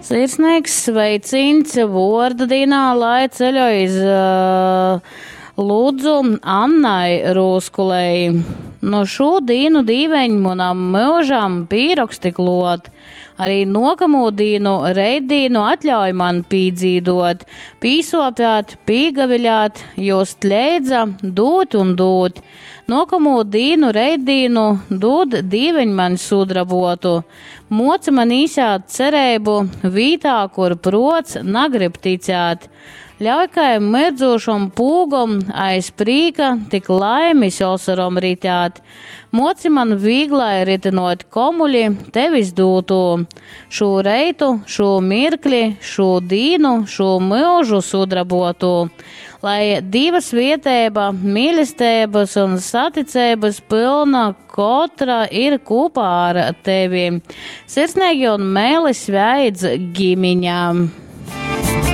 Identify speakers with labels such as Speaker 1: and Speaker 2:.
Speaker 1: Sirsnīgs sveicīņs vuorda dīnā, lai ceļoj iz uh, Ludzu Annai Rūskulei. Nu šū dīnu dīveņ munam myužam pīroksti kluot. Arī nuokamū dīnu, reitdīnu atļauj man pīdzīdot, pīsopēt, pīgaviļāt, just leidza, dūt un dūt. Nuokamū dīnu, reitdīnu dūd dīveņ man sudrabotu. Muoci man īsēt cereibu vītā, kur pruots nagrib ticēt. Ļauj kai myrdzūšom pūgom aiz prīka tik laimis osorom ritēt. Muoci man vīglai ritynuot komuli tevis dūtū. Šū reitu, šū mirkli, šū dīnu, šū myužu sudrabuotū. Lai Dīva svieteiba, mīlesteibys un saticeibys pylna kotra ir kūpā ar tevi. Sirsneigi un meili sveidz gimiņa.